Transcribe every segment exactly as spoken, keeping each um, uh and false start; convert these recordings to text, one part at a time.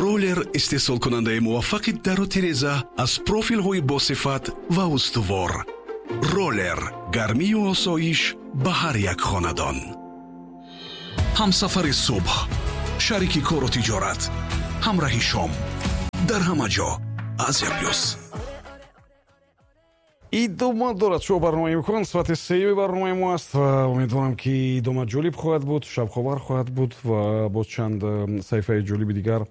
Роллер, истеҳсолкунандаи муваффақи дару тиреза аз профилҳои босифат ва устувор. Роллер, гармию осоиш ба ҳар як хонадон. Ҳамсафари субҳ, шарики кору тиҷорат, ҳамраҳи шом, дар ҳама ҷо Азия Плюс. Идома дорад шоу барномаи «Имкон». Соати сеюми барномаи мо аст ва умедворам, ки идома ҷолиб хоҳад буд, шавқовар хоҳад буд ва боз чанд э, саҳифаи ҷолиби дигар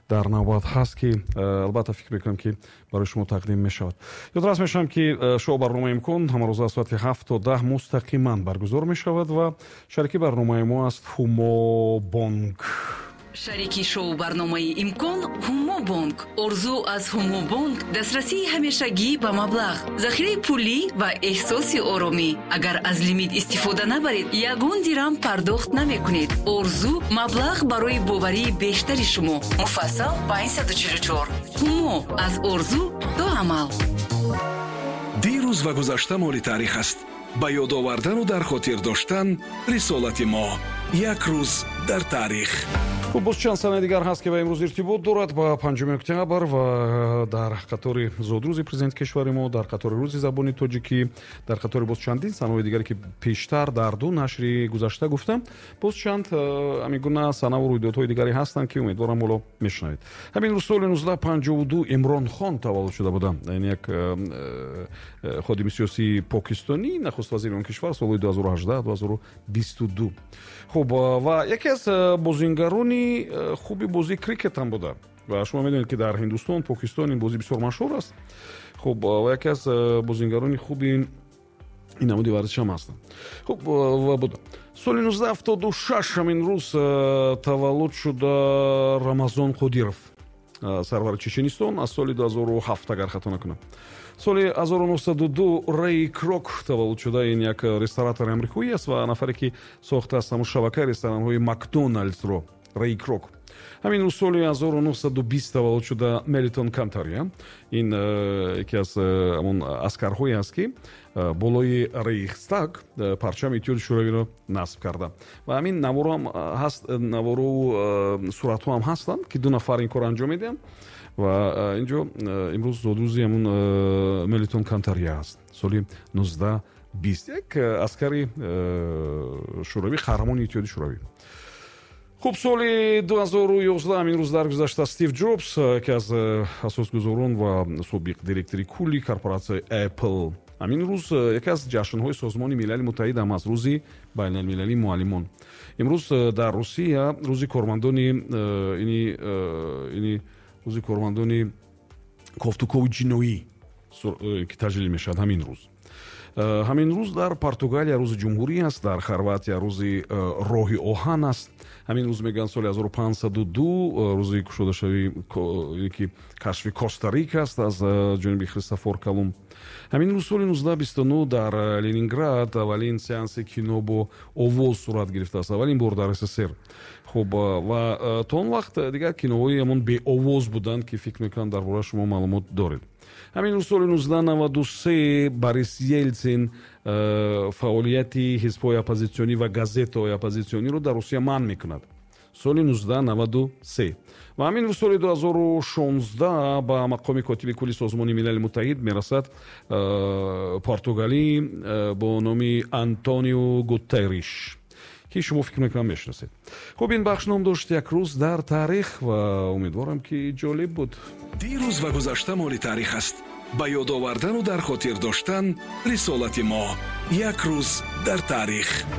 дар навбат ҳаст, ки э, албатта, фикр мекунам, ки барои шумо тақдим мешавад. Ёдрас мешавам, ки э, шоу барномаи «Имкон» ҳамарӯза аз соати ҳафт то даҳ мустақиман баргузор мешавад ва шарики барномаи мо аст Ҳумо Бонк. Шарики шоу барномаи «Имкон» Ҳумобонк. Орзу аз Ҳумобонк: дастрасии ҳамешагӣ ба маблағ, захираи пулӣ ва эҳсоси оромӣ. Агар аз лимит истифода набаред, ягон дирам пардохт намекунед. Орзу: маблағ барои боварии бештари шумо. Муфассал панҷсаду чилу чор. Ҳумо: аз орзу то амал. Дирӯз ва гузашта моли таърих аст. Ба ёд овардану дар хотир доштан рисолати мо. Як рӯз дар таърих. Хуб, боз чанд санаи дигар ҳаст, ки ба имрӯз иртибот дорад, ба панҷуми октябр, ва дар қатори зодрӯзи президенти кишвари мо, дар қатори Рӯзи забони тоҷикӣ, дар қатори боз чандин санаҳои дигаре, ки пештар дар ду нашри гузашта гуфтам, боз чанд э, ҳамин гуна санаву рӯйдодҳои дигаре ҳастанд, ки умедворам, ҳоло мешунавед. Ҳамин рӯз, соли нуздаҳ панҷоҳу ду, Имрон Хон таваллуд шуда буданд. Ин як э, э, ходими сиёсии покистонӣ, нахуст вазири он кишвар солҳои ду ҳазору ҳаждаҳ ду ҳазору бисту ду. Хуб, ва яке аз бозингарони хуби бозии крикет ҳам буда. Ва шумо медонед, ки дар Ҳиндустон, Покистон ин бозӣ бисёр машҳур аст. Хуб, ва яке аз бозингарони хуби ин намуди варзиш ҳам ҳастанд. Хуб, ва буда. Соли нуздаҳ ҳафтоду шаш ҳамин рӯз таваллуд шуда Рамазон Қодиров, сарвари Чеченистон аз соли ду ҳазору ҳафт, агар хато накунам. Соли ҳазору нуҳсаду ду Рэй Крок таваллуд шуда. Ин як ресторатори амрикоӣ аст ва нафаре, ки сохтааст ҳамун шабакаи ресторанҳои Макдоналдсро, Рэй Крок. Ҳамин рӯз, соли ҳазору нуҳсаду бист таваллуд шуда Мелитон Кантария. Ин э, яке аз э, ҳамон аскарҳое аст, ки э, болои Рейхстаг парчами Иттиҳоди Шӯравиро насб карда. Ва ҳамин наворо ҳам ҳаст, навору суратҳо ҳам ҳастанд, ки ду нафар ин корро анҷом медиҳанд. Ва инҷо имрӯз зодрӯзи ҳамун Мелитон Кантария аст, соли нуздаҳ бист, як аскари шӯравӣ, қаҳрамони Иттиҳоди Шӯравӣ. Хуб, соли ду ҳазору ёздаҳ ҳамин рӯз даргузашта Стив Ҷобс, яке аз э, асосгузорон ва собиқ директори кулли корпоратсияи Apple. Ҳамин рӯз э, яке аз ҷашнҳои Созмони Милали Муттаҳид ҳам аст, Рӯзи байналмилалии муаллимон. Имрӯз э, дар Русия рӯзи кормандони ини ини рӯзи кормандони кофтукови ҷиноӣ ки таҷлил мешавад ҳамин рӯз. Ҳамин рӯз дар Португалия Рӯзи ҷумҳурӣ аст, дар Хорватия Рӯзи роҳи оҳан аст. Ҳамин рӯз, мегӯянд, соли ҳазору панҷсаду ду рӯзи кушодашавӣ ки кашфи Коста-Рика аст аз ҷониби Христофор Колумб. Ҳамин рӯз, соли нуздаҳ бисту нӯҳ, дар Ленинград аввалин сеанси кино бо овоз сурат гирифтааст, аввалин бор дар С С С Р. Хуб, ва то он вақт дигар киноҳои ҳамон беовоз буданд, ки фикр мекунам, дар бораи шумо маълумот доред. Ҳамин рӯз, соли нуздаҳ наваду се, Борис Елсин фаъолияти ҳизбҳои оппозитсионӣ ва газетаҳои оппозитсиониро дар Русия манъ мекунад, соли нуздаҳ наваду се. Ва ҳамин рӯз, соли ду ҳазору шонздаҳ, ба мақоми котиби кулли Созмони Милали Муттаҳид мерасад португалӣ бо номи Антонио Гутерриш, ки шумо, фикр мекунам, мешиносед. Хуб, ин бахш ном дошт «Як рӯз дар таърих» ва умедворам, ки ҷолиб буд. Дирӯз ва гузашта моли таърих аст. Ба ёд овардану дар хотир доштан рисолати мо. Як рӯз дар таърих.